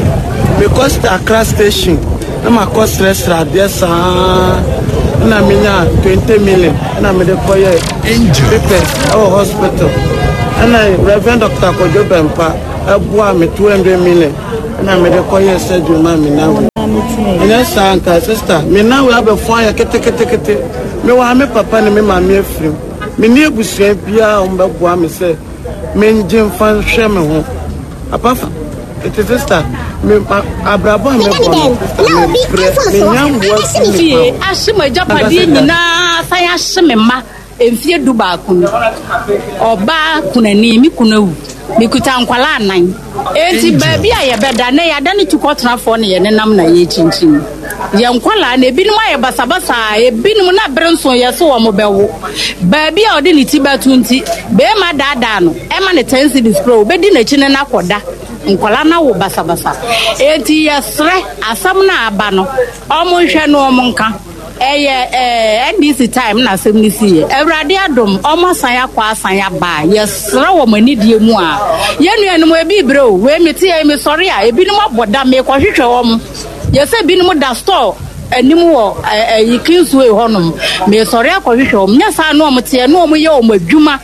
Mekɔ Accra station na makɔ srɛsrɛ adeɛ saa na menya 20 million na mede kɔyɛ papers ɛwɔ hospital ɛna Reverend Dr. Kojo Bɛmpa ɛboa me 200 million na mede kɔyɛ surgery ma me nan wei. Ɛnyɛ saa nka sister me nan wei abɛfo ayɛ keteketekete. Mewɔ ha me papa ne me maame afirim. Menni abusua biara a wɔbɛboa me sɛ mengye mfa nhwɛ me ho. Apart from nti sister me abrabɔ a mebɔ no sister mebrɛ menya mmoa fi nipa Fie ahye m'agyapadeɛ nyinaa san ahye me mma mfeɛ dubaako ni. Ɔbaa kunani, me kunu awu. Mekuta nkwadaa nnan. Enti baabi a yɛbɛda nnɛ yɛadane tukɔtenafoɔ na yɛnenam na yɛrekyinkyini. Yɛn nkwadaa no ebinom ayɛ basabasa, ebinom na bere nso yɛ so wɔn bɛwo. Baabi a ɔde ne ti bɛto nti, barima daadaa no ma no ten cedis koraa obedi n'akyi ne no akɔda. Nkwadaa no awo basabasa. Enti yɛsrɛ asɛm no a aba no, wɔnhwɛ na wɔnka. Ɛyɛ eh, NDC time na asɛm no siiɛ. Awurade adom, wɔn asan akɔ asan aba a, yɛsrɛ wɔn anidie mu a, yɛn nuanom ebi rebrɛ o, wei mete yɛ mesɔre a, ebinom abɔ dam, mekɔhwehwɛ wɔn. Yɛ sɛ binom da store anim wɔ ɛyi Kingsway hɔnom, mesɔre akɔhwehwɛ wɔn. Nyɛ saa na wɔn teɛ, na wɔn yɛ wɔn adwuma.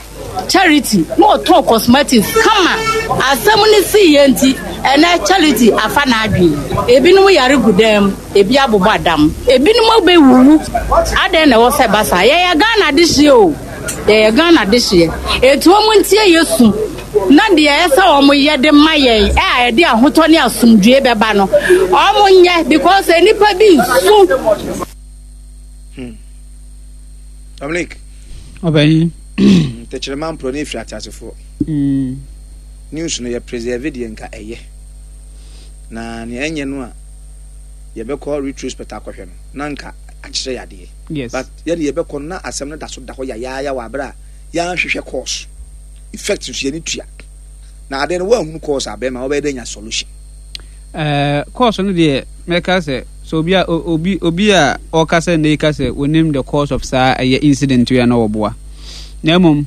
Charity na ɔtɔn cosmetics kama. Asɛm no sii yɛ nti, ɛnɛ Charity afa n'adwene. Ebinom yare gu dan mu, ebi abobɔ adam, ebinom abɛwuwu. Adɛn na ɛwɔ sɛ ɛba saa? Yɛyɛ Ghana adehyeɛ o, yɛyɛ Ghana adehyeɛ. Enti wɔn ntie yɛ su na deɛ ɛsɛ wɔn yɛ de ma yɛn a ɛde ahotɔ ne asomdwoe bɛba no, wɔn nyɛ because nnipa bi nsu. Hmm. Dominic. Ɔbɛnyin. Tɛkyerɛma mporɔ ne efiri ateasefoɔ. Mm. News no yɛ preserve deɛ nka ɛyɛ. Na nea ɛnyɛ no a yɛbɛkɔ retrospect akɔhwɛ no na nka akyerɛ yadeɛ. Yes. But yɛde yɛbɛkɔ no na asɛm no da so da hɔ yayaaya wɔ abere a yɛanhwehwɛ cause. Effect nso yɛne tua. Na adeɛ no woanhunu cause a bɛrima wobɛyɛ dɛ nya solution. Ɛɛ cause no deɛ mɛka sɛ sɛ obi a obi obi a ɔka sɛ nnɛ yi ka sɛ onim the cause of saa ɛyɛ incident yi a na ɔboa na mmom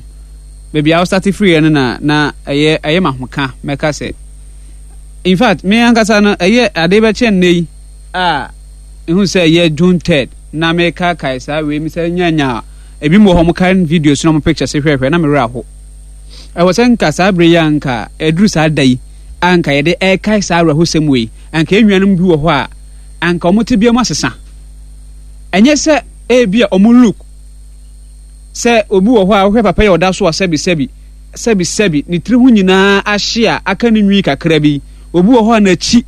baabi a ɔsate firi yɛ no na na ɛyɛ ɛyɛ ma ho ka mɛka sɛ in fact me ankasa no ɛyɛ ade bɛkyɛ nnɛ yi a ehu sɛ ɛyɛ June third na mekaakae saa wei mi sɛ nyanya ebi mu wɔ hɔ mo kan videos na mo pictures hwɛhwɛ na me werɛ aho ɛwɔ sɛ nka saa bere yi a nka ɛduru saa da yi a anka yɛde rekae saa awerɛhosɛm wei, anka yɛn nuanom bi wɔ hɔ a, anka wɔn tebea mu asesa. Ɛnyɛ sɛ ebi a wɔn look sɛ obi wɔ hɔ a wohwɛ papa yi a ɔda so a sɛbi sɛbi sɛbi sɛbi ne tiri ho nyinaa ahye a aka ne nwi kakra bi. Obi wɔ hɔ a n'akyi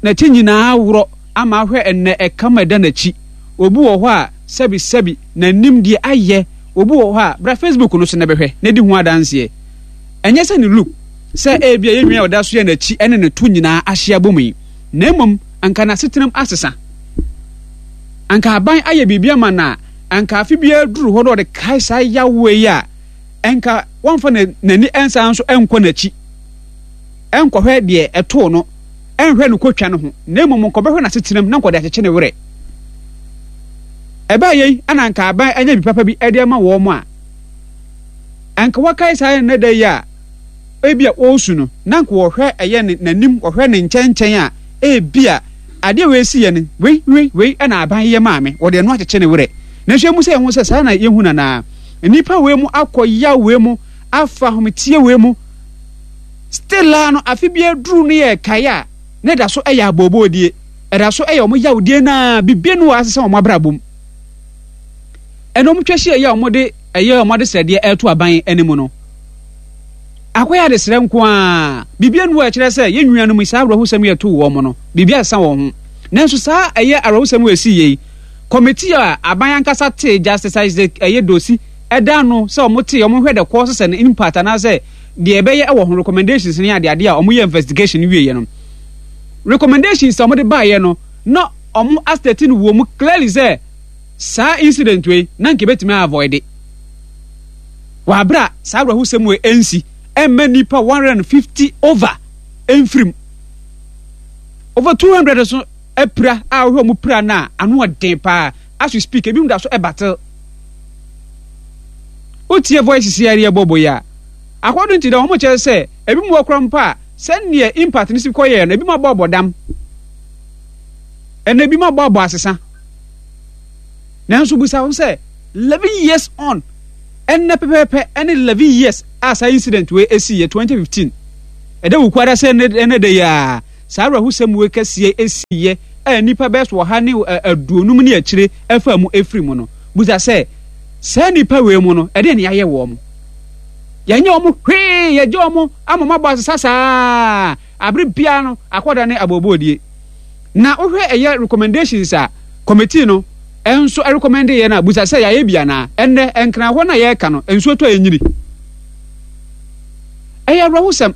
n'akyi nyinaa worɔ ama ahwɛ ɛnɛ ɛkam a ɛda n'akyi. Obi wɔ hɔ a sɛbi sɛbi n'anim deɛ ayɛ. Obi wɔ hɔ a bra Facebook no so na bɛhwɛ na di ho adanseɛ. Ɛnyɛ sɛ ne look, sɛ ebia yɛn nua a ɔda so yɛ n'akyi ne ne to nyinaa ahye abom yi, na mmom anka n'asetenam asesa. Anka aban ayɛ biribi ama no a, anka afe biara duru hɔ na ɔde kae saa yawoe yi a, anka wɔmfa n'ani nsan nso nkɔ n'akyi nkɔhwɛ deɛ ɛtoo no, nhwɛ no kotwa no ho, na mmom nkɔbɛhwɛ n'asetenam na nkɔde akyekye ne werɛ. Ɛbaa yei na anka aban anya bi papa bi de ama wɔn a. Anka wakae saa nnɛ da yi a ebia ɔresu no, na anka ɔhwɛ ɛyɛ ne n'anim, ɔhwɛ ne nkyɛnkyɛn a, ebia adeɛ wei si yɛ no, wei, wei, wei ɛna aban yɛ maa me, wɔde ɛno akyekye ne werɛ. Nanso emu sɛ yɛn ho sɛ saa na yɛhu no anaa? Nnipa wei mu akɔ yaw wei mu, afa ahometeɛ wei mu, still a no afe bi aduru no yɛ kae a, na ɛda so ɛyɛ abooboodie, ɛda so ɛyɛ wɔn yawdie no a, biribi no wɔ asesa wɔn abrabɔ mu. Ɛna wɔn twa hyia yi a wɔde ɛyɛ wɔn adesrɛdeɛ ɛreto aban anim no, akɔyɛ adesrɛ nko ara, biribi anu a ɛkyerɛ sɛ yɛn nuanom yi saa awerɛhosɛm yi ɛtoo wɔn no, biribi asesa wɔn ho. Nanso saa ɛyɛ awerɛhosɛm a ɛsii yei, kɔmitii a aban ankasa tee Justice Isaac ɛyɛ Dosi ɛda ano sɛ wɔn tee wɔn hwɛ the causes and impact anaasɛ deɛ ɛbɛyɛ ɛwɔ ho recommendations ne adeade a wɔn yɛ investigation wieɛ no, recommendations a wɔn de baeɛ no na wɔn astate no wɔ mu clearly sɛ Saa incident wei na nka ebetumi a avoid wɔ abere a saa awerɛhosɛm wei ɛnsi ɛmma nnipa 150 over ɛmfirim over 200 so apira a wohwɛ ɔmo pira no a ano ɔden paa as we speak ebi mu da so ɛbatel wotie voice si ɛyɛ bɔbɔ yi a according to them wɔn kyerɛ sɛ ebi mu wɔ kora mpo a sɛdeɛ impact no si kɔ yɛ no ebi mu abɔ abɔ dam ɛna ebi mu abɔ abɔ asesa. Nanso bisa ho sɛ, 11 years on, ɛnnɛ pɛpɛɛpɛ ɛne 11 years a saa incident wei esi yɛ 2015. Ɛda wukuada sɛ ɛnɛ da yi a saa awerɛhosɛm wei kɛseɛ esi yɛ a nnipa bɛyɛ so ɔha ne aduonum ne akyire ɛfa mu efiri mu no. Bisa sɛ, saa nnipa wei mu no, ɛdeɛ ne yɛayɛ wɔn? Yɛnyɛ wɔn hwee, yɛgye wɔn ama wɔn abɔ asesa saa. Abere biara no, akɔda ne aboobɔɔdie. Na wohwɛ ɛyɛ recommendations a committee no nso recommend yɛ no a, busa sɛ yɛayɛ bi anaa? Ɛnnɛ, Nkran hɔ no a yɛreka no, nsuo tɔ a ɛnyini. Ɛyɛ awerɛhosɛm.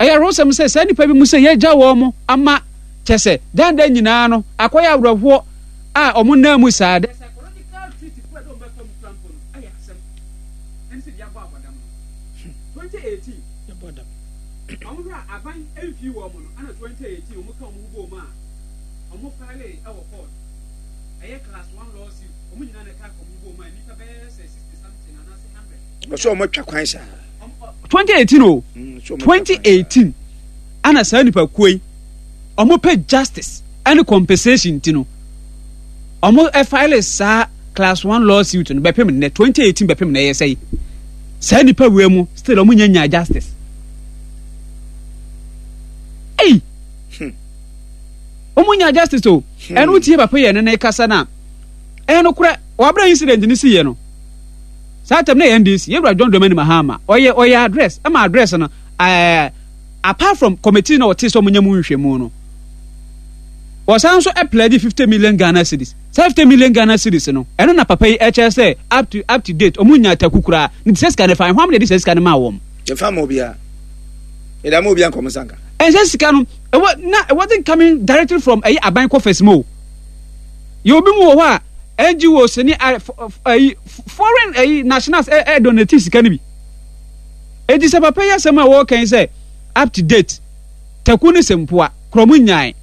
Ɛyɛ awerɛhosɛm sɛ saa nnipa bi mu sɛ yɛagya wɔn ama kyɛ sɛ dandan nyinaa no akɔyɛ awerɛhoɔ a wɔn nan mu saa. The psychological treat kura dɛ wɔbɛfa mu kura mpo no ɛyɛ asɛm. Ɛne sɛ deɛ abɔ abɔdam no. 2018. Wɔn hwɛ a aban mfii wɔn no ɛna 2018 wɔn ka wɔn ho bɔɔ mu a wɔn file ɛwɔ court ɛyɛ class one law suit wɔn nyinaa na ɛka wɔn ho bɔɔ mu a nnipa bɛyɛ sɛ 60 something anaasɛ 100. Ɔsɛ wɔn atwa kwan saa. 2018 o 2018 ɛna saa nipa kuo yi wɔn pɛ justice ɛne compensation ti no wɔn ɛfile saa class one law suit no bɛpem nnɛ 2018 bɛpem nnɛ yɛ sɛ yi saa nipa wei mu still wɔn nya nya justice. Ei! Hmm. Wɔn nya justice o. Hmm. Ɛno tie papa yɛ ne ne kasa na ɛyɛ no korɛ wɔabere incident ne si yɛ no. Saa tɛm na yɛ NDC yɛwura John Dramani Mahama ɔyɛ ɔyɛ address ɛma address no ɛɛ apart from committee na ɔte sɛ wɔn nyɛ mu nhwɛmu no wɔsan nso ɛplɛdi 50 million Ghana cedis. Saa 50 million Ghana cedis no ɛno na papa yi ɛkyerɛ sɛ up to up to date wɔn nya taku koraa ne ti sɛ sika no fa ɛho am na ɛde sɛ sika no maa wɔn. Yɛmfa ma obiara. Yɛde ama obiara nkɔm nsa nka. Ɛnsɛ sika no, ɛwɔ na it wasn't coming directly from ɛyɛ aban coffers mu o. Yɛ obi mu wɔ hɔ a NGOs ne ɛyi foreign ɛyi nationals ɛ ɛ donate sika no bi. Eti sɛ papa yi asɛm a wɔreka yi sɛ up to date taku ne sɛmpoa korɔ mu nyae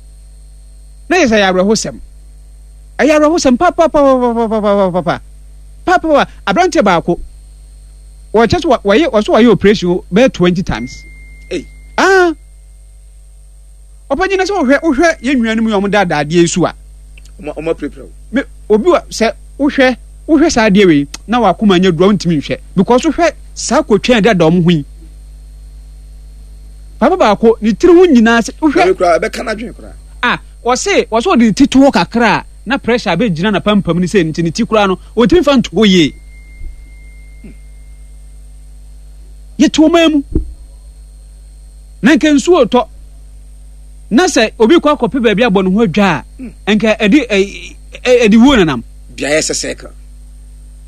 na yɛ sɛ ɛyɛ awerɛhosɛm. Ɛyɛ awerɛhosɛm papapapapapapapa papapa aberanteɛ baako. Wɔkyɛ so wɔyɛ wɔso wɔyɛ operation bɛyɛ 20 times. Ei. Ah. Ɔpanyin na sɛ wohwɛ wohwɛ yɛn nuanom yi a wɔn daadaa adeɛ yi so a. Wɔn wɔn apirapira o. Me obi wa sɛ wohwɛ wohwɛ saa adeɛ wei na wakoma nyɛ duro ntumi nhwɛ because wohwɛ saa kotwɛn dada wɔn ho yi. Papa baako ne tiri ho nyinaa sɛ wohwɛ. Ɛbɛ kura ɛbɛka n'adwene kura. Ah wɔse wɔse wɔde ne ti to hɔ kakra a na pressure abɛgyina n'apampam ne sɛ nti ne ti koraa no ɔntumi fa nto hɔ yie. Yɛte ɔman mu na nka nsuo retɔ na sɛ obi kɔ akɔpɛ baabi abɔ ne ho adwa a nka ɛde ɛde wuo nanam. Beaeɛ sɛ circle.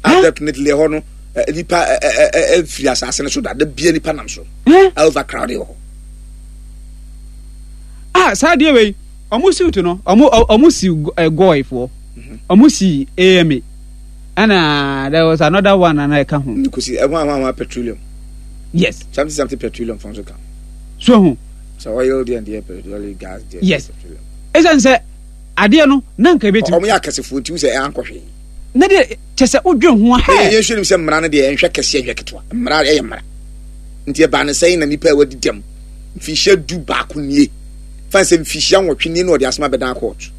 Ah, definitely ɛhɔ no nipa ɛfiri asase no so da da bia nipa nam so. Overcrowded wɔ hɔ. Ah, saa adeɛ wei ɔmo siw to no ɔmo ɔmo si gɔɔ foɔ ɔmo si AMA. Ɛna there was another one ana ɛka ho. Nkosi ɛho ahoa ahoa petroleum. Yes. Something something petroleum fɔn so ka. So ho. Sɛ oil deɛ deɛ petroleum gas deɛ. Yes. Ɛsɛn sɛ adeɛ no na nka ebetumi. Ɔmo yɛ akɛsefoɔ nti sɛ ɛankɔ hwee. Na deɛ kyɛ sɛ wodwen ho a hɛ. Yɛn nhwɛ nim sɛ mmara no deɛ ɛnhwɛ kɛseɛ nhwɛ ketewa. Mmara ɛyɛ mmara. Nti ɛbaa no sɛn na nipa a wadi dɛm mfinhyia 11 nie fan sɛ mfinhyia 8 nie na ɔde asɛm abɛdan court.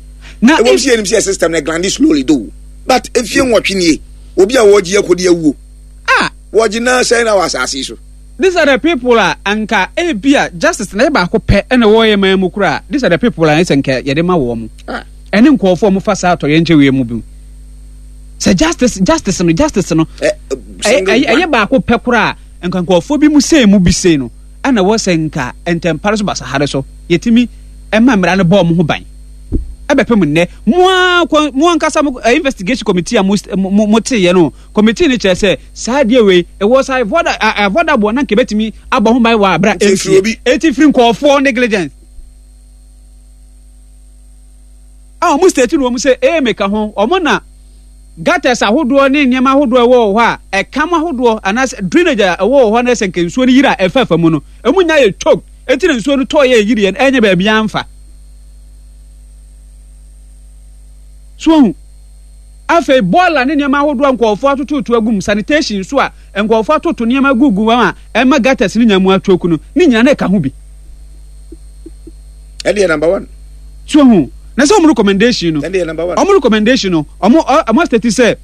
Na ɛwɔ sɛ yɛnim sɛ system no glande slowly though but mfie 8 nie obi a wɔgye akɔdi awuo. Ah! Wɔgye na sɛn na wɔ asase yi so. These are the people a anka ebia justice na yɛ baako pɛ ɛna ɛwɔ yɛ man mu koraa. These are the people a ɛsɛ nka yɛde ma wɔn. Ah. Ɛne nkurɔfoɔ a wɔfa saa atɔyɛnkyɛ wei mu bi. Sɛ justice justice no justice no ɛyɛ baako pɛ koraa nka nkurɔfoɔ bi mu sei mu bi sei no ɛna ɛwɔ sɛ nka ntɛmpare so basahare so yɛtumi ɛma mmara no bɔ wɔn ho ban. Ɛbɛpem nnɛ mo ara mo ankasa mo investigation committee a mo mo teeɛ no committee no kyerɛ sɛ saa adeɛ wei it was avoidable na nka ɛbɛtumi abɔ ho ban wɔ abira ɛnsie ɛti firi nkɔɔfoɔ negligence a wɔn state no wɔn sɛ ee meka ho wɔn na gutters ahodoɔ ne nneɛma ahodoɔ ɛwɔ wɔ hɔ a ɛkam ahodoɔ anaasɛ drainage a ɛwɔ wɔ hɔ na ɛsɛ nka nsuo no yiri a ɛfɛfɛ mu no ɛmu nya yɛ choke eti na nsuo no tɔɔ yɛ yiri yɛ ɛnyɛ baabi anfa so ohun. Afei bɔɔla ne nneɛma ahodoɔ a nkurɔfoɔ atototo agu mu, sanitation nso a nkurɔfoɔ atoto nneɛma agugu mu a ɛma gutters no nya mu atwoku no, ne nyinaa na ɛka ho bi. Ɛdeɛ number one. So ho na sɛ wɔn recommendation no, Ɛdeɛ number one. wɔn recommendation no, wɔn wɔn asitɛti sɛ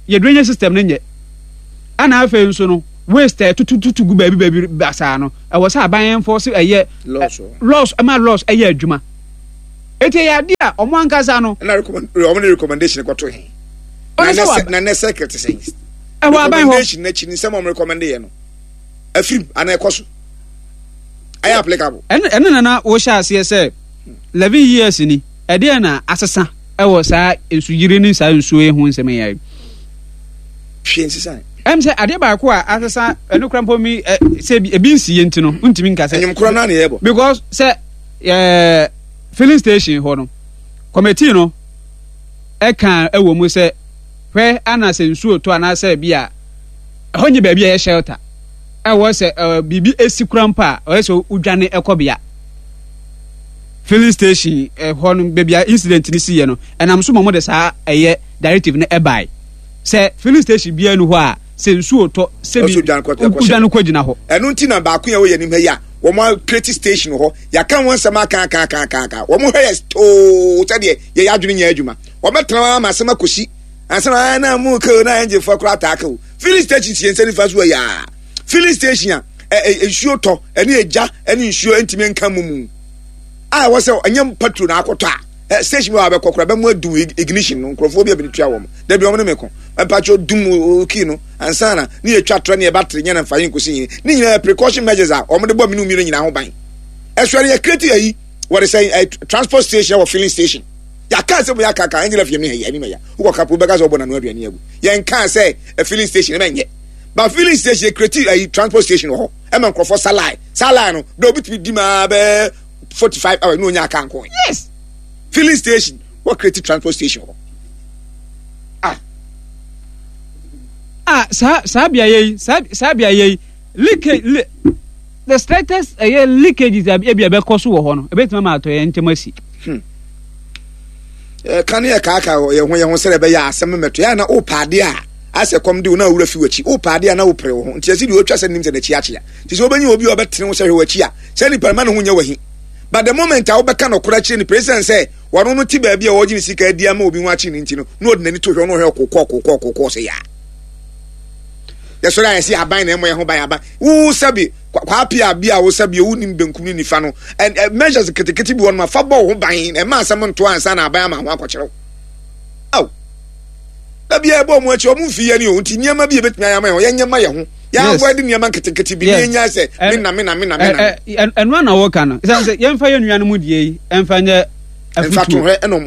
yɛ drainage system no nyɛ, ɛna afei nso no waste a ɛtutututu gu baabi baabi basaa no, ɛwɔ sɛ aban enforce ɛyɛ Laws. laws ɛma laws ɛyɛ adwuma. Eti ɛyɛ ade a wɔn ankasa no. Ɛna recommend wɔn de recommendation kɔto he. Ɔno sɛ wɔ. Na ne circle te sɛn. Ɛwɔ aban hɔ. Recommendation n'akyi nsɛm a wɔn recommend yɛ no afirim ana ɛkɔ so ɛyɛ applicable. Ɛno ɛno na na wɔhyɛ aseɛ sɛ 11 years ni ɛdeɛ na asesa ɛwɔ saa nsuyiri ne saa nsuo yi ho nsɛm yi ayɛ. Hwee nsesa. Ɛm sɛ adeɛ baako a asesa ɛno kora mpo mi ɛ sɛ ebi nsi yɛ nti no ntumi nka sɛ. Ɛnyɛm kora naa na yɛbɔ. Because sɛ ɛɛ filling station hɔ no committee no ɛka ɛwɔ mu sɛ hwɛ ana sɛ nsuo tɔ anaasɛ bi a ɛhɔ nyɛ baabi a ɛyɛ shelter ɛwɔ sɛ ɛɛ biribi esi kura mpo a ɔyɛ sɛ wodwane ɛkɔ bea filling station ɛhɔ no baabi a incident no si yɛ no ɛnam so ma wɔde saa ɛyɛ directive no ɛbae sɛ filling station biara nu hɔ a sɛ nsuo tɔ sɛ bi wodwane kɔ gyina hɔ. Ɛno nti na baako yɛ wɔ yɛn anim ha yi a wɔn a create station wɔ hɔ yɛaka ho nsɛm aka aka aka aka aka wɔn hwɛ yɛ too sɛdeɛ yɛyɛ adwene nyɛ adwuma wɔn bɛtena hɔ ama asɛm akɔsi ansa na na mu ka o na engine foɔ koraa taa ka o filling station si yɛn nsa nifa so yɛ a filling station a ɛ ɛ nsuo tɔ ɛne egya ɛne nsuo ntumi nka mu mu a ɛwɔ sɛ ɛnyɛ petrol na akɔtɔ a ɛ station bi wɔ abɛkɔ koraa bɛmu adum ignition no nkurɔfoɔ bi a bi tua wɔn dabi wɔn ne me ko mpatsɔ dum kii no ansa na ne yɛ twa trɛ ne yɛ battery nyɛ na nfa yi nkosi yi ne nyinaa precaution measures a wɔn de bɔ mmienu mmienu nyinaa ho ban ɛso ɛde yɛ create ayi wɔde sɛ ɛ transport station wɔ filling station yɛaka sɛ mo yɛ akaka ɛnyɛ lɛfiyɛ mi yɛ anim ɛyɛ wokɔ kapo bɛka sɛ ɔbɔ nanu aduane agu yɛn kaa sɛ ɛ filling station ɛmɛ nyɛ ba filling station yɛ create ayi transport station wɔ hɔ ɛma nkurɔfoɔ salai salai no bɛ obi tumi di maa bɛɛ 45 hours ne onya aka nko. Yes. Filling station wɔ create transport station hɔ. Ah. Ah, saa saa beaeɛ yi saa saa beaeɛ yi leakage le the slightest ɛyɛ leakages a ebi a ɛbɛkɔ so wɔ hɔ no ebetumi ama atɔ yɛn ntɛm asi. Hmm. Ɛka ne yɛ kaaka yɛn ho yɛn ho sɛ ɛbɛyɛ asɛm mmɛto yɛ na wopɛ adeɛ a asɛ kɔm de wo na awura fi w'akyi wopɛ adeɛ a na wopere wo ho nti ɛsi deɛ otwa sɛ nim sɛ n'akyi akyea nti sɛ wobɛnya obi a ɔbɛtene wo sɛ hwɛ w'akyi a Sɛ nipa no ma ne ho nyɛ wahi. But the moment a wobɛka nɔkorɛ akyerɛ nipa esiane sɛ wɔno no te baabi a wɔgye ne sika adi ama obi ho akye no nti no na ɔde n'ani to hwɛ ɔno ɔhwɛ ɔkokɔ ɔkokɔ ɔkokɔ sɛ yaa. Yɛsɔre a yɛse aban na ɛmmɔ yɛn ho ban aban. Wo sɛbi kwaapia bi a wo sɛbi wo nim benkum ne nifa no and measures ketekete bi wɔ no ma fa bɔ wo ho ban ɛma asɛm nto ansa na aban ama ho akɔkyerɛ wo. Aw. Da bi a ɛbɔ ɔmo akyi ɔmo mfi yɛn o nti nneɛma bi ebetumi ayɛ ama yɛn yɛnyɛ ma yɛn ho. Yɛn avoid nneɛma nketenkete bi ne yɛn nya sɛ me na me na me na me na. Ɛno na wɔka no sɛ yɛmfa yɛn nuanom deɛ yi ɛmfa nyɛ afutuo. Mfa to hwɛ ɛna ɔmo.